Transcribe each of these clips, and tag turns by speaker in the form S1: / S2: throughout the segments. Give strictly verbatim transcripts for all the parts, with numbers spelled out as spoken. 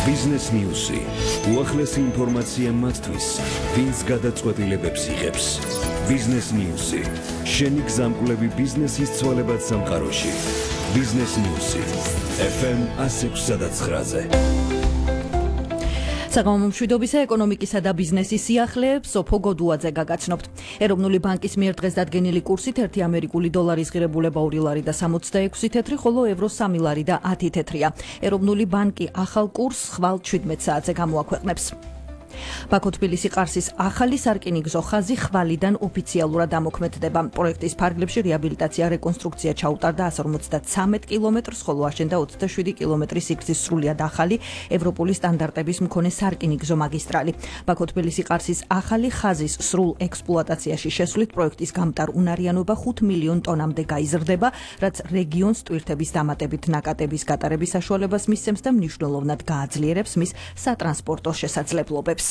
S1: Business News-ი. უახლესი ინფორმაცია მათთვის, ვინც გადაწყვეტილებებს იღებს. Business News-ი. შენი გზამკვლევი ბიზნესის ცვალებად სამყაროში. Business News-ი. ეფ ემ one oh six point nine-ზე.
S2: საგამომო მშვიდობისა ეკონომიკისა და ბიზნესის სიახლეებს სოფო გოდუაძე გაგაცნობთ. ეროვნული ბანკის მიერ დღეს დადგენილი კურსით ერთი ამერიკული დოლარის ღირებულება ორი ლარი და სამოცდაექვსი თეთრი, ხოლო ევრო სამი ლარი და ათი თეთრია. ეროვნული ბანკი ახალ კურსს ხვალ შვიდმეტ საათზე გამოაქვეყნებს. ბაქო-თბილისი ყარსის ახალი სარკინიგზო ხაზი ხვალიდან ოფიციალურად ამოქმედდება. პროექტის ფარგლებში რეაბილიტაცია, რეკონსტრუქცია ჩაუტარდა one hundred fifty-three კილომეტრს, ხოლო აშენდა twenty-seven კილომეტრის სიგრძის სრულიად ახალი ევროპული სტანდარტების მქონე სარკინიგზო მაგისტრალი. ბაქო-თბილისი ყარსის ახალი ხაზის სრულ ექსპლუატაციაში შესვლით პროექტის გამტარ უნარიანობა ხუთ მილიონ ტონამდე გაიზრდება, რაც რეგიონს ტვირთების დამატებით ნაკადების გატარების საშუალებას მისცემს და მნიშვნელოვნად გააძლიერებს მის სატრანსპორტო შესაძლებლობებს.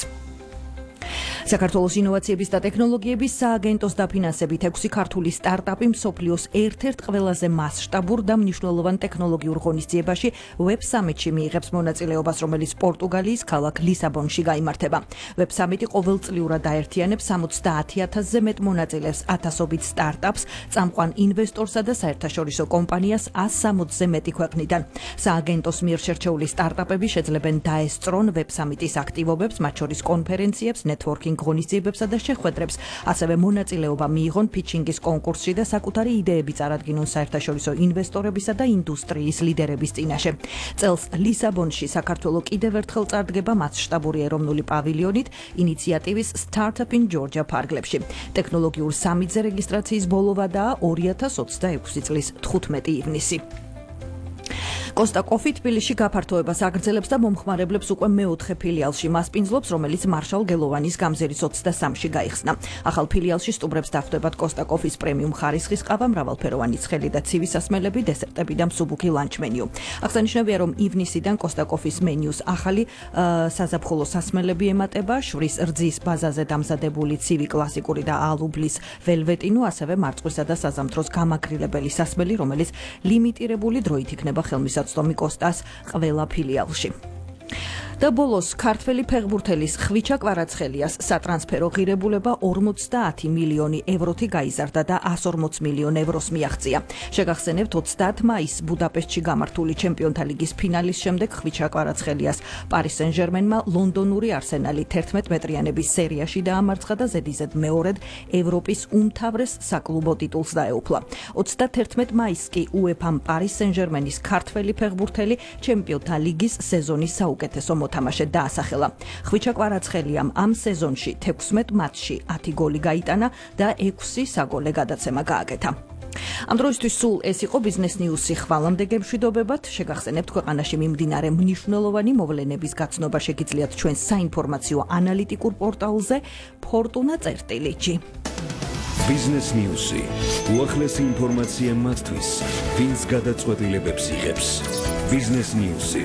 S2: საქართველოს ინოვაციების და ტექნოლოგიების სააგენტოს დაფინანსებით ექვსი ქართული სტარტაპი მსოფლიოს ერთ-ერთ ყველაზე მასშტაბურ და მნიშვნელოვან ტექნოლოგიურ ღონისძიებაში ვებ სამიტში მიიღებს მონაწილეობას, რომელიც პორტუგალიის ქალაქ ლისაბონში გაიმართება. ვებ სამიტი ყოველწლიურად დაერთიანებს სამოცდაათი ათასზე მეტ მონაწილეს, ათასობით სტარტაპს, წამყვან ინვესტორსა და საერთაშორისო კომპანიას one hundred sixty-ზე მეტი ქვეყნიდან. სააგენტოს მიერ შერჩეული სტარტაპები შეძლებენ დაესწრონ ვებ სამიტის აქტივობებს, მათ შორის კონფერენციებს, networking ღონისძიებებსა და შეხვედრებს, ასევე მონაწილეობა მიიღონ ფიჩინგის კონკურსში და საკუთარი იდეები წარადგინონ საერთაშორისო ინვესტორებისა და ინდუსტრიის ლიდერების წინაშე. წელს ლისაბონში საქართველო კიდევ ერთხელ წარდგება მასშტაბური ეროვნული პავილიონით ინიციატივის Startup in Georgia ფარგლებში. ტექნოლოგიურ სამიტზე რეგისტრაციის ბოლო ვადაა ორი ათას ოცდაექვსი წლის თხუთმეტი ივნისი. კოსტა კოფი თბილისში გაფართოებას აგრძელებს და მომხმარებლებს უკვე მეოთხე ფილიალში მასპინძლობს, რომელიც მარშალ გელოვანის გამზირის ოცდასამში გაიხსნა. ახალ ფილიალში სტუმრებს დახვდებათ კოსტა კოფის პრემიუმ ხარისხის ყავა, მრავალფეროვანი ცხელი და ცივი სასმელები, დესერტები და მსუბუქი ლანჩ მენიუ. აღსანიშნავია, რომ ივნისიდან კოსტა კოფის მენიუს ახალი საზაფხულო სასმელები ემატება, შვრის რძის ბაზაზე დამზადებული ცივი, კლასიკური და ალუბლის ველვეტინო, ასევე მარწყვისა და საზამთროს გამაგრილებელი სასმელი, რომელიც ლიმიტირებული დროით იქნება ხელმისაწვდომი კოსტას ყველა ფილიალში. და ბოლოს ქართველი ფეხბურთელის ხვიჩა კვარაცხელიას სატრანსფერო ღირებულება ორმოცდაათი მილიონი ევროთი გაიზარდა და one hundred forty მილიონ ევროს მიაღწია. შეგახსენებთ, ოცდაათი მაისს ბუდაპეშტში გამართული ჩემპიონთა ლიგის ფინალის შემდეგ ხვიჩა კვარაცხელიას პარი სენ-ჟერმენმა ლონდონური არსენალი თერთმეტ მეტრიანების სერიაში დაამარცხა და ზედიზედ მეორედ ევროპის უმთავრეს საკლუბო ტიტულს დაეუფლა. ოცდათერთმეტ მაისს კი უეფამ პარი სენ-ჟერმენის ქართველი ფეხბურთელი ჩემპიონთა ლიგის სეზონის საუკეთესო მოთამაშედ დაასახელა. ხვიჩა კვარაცხელიამ ამ სეზონში თექვსმეტ მატჩში ათი გოლი გაიტანა და ექვსი საგოლე გადაცემა გააკეთა. ამ დროისთვის სულ ეს იყო ბიზნეს ნიუსი. ხვალამდე გემშვიდობებათ. შეგახსენებთ, ქვეყანაში მიმდინარე მნიშვნელოვანი მოვლენების გაცნობა შეგიძლიათ ჩვენს საინფორმაციო ანალიტიკურ პორტალზე ფორტუნა წერტილი ჯი.
S1: Business News-ი. უახლესი ინფორმაცია მათთვის, ვინც გადაწყვეტილებებს იღებს. Business News-ი.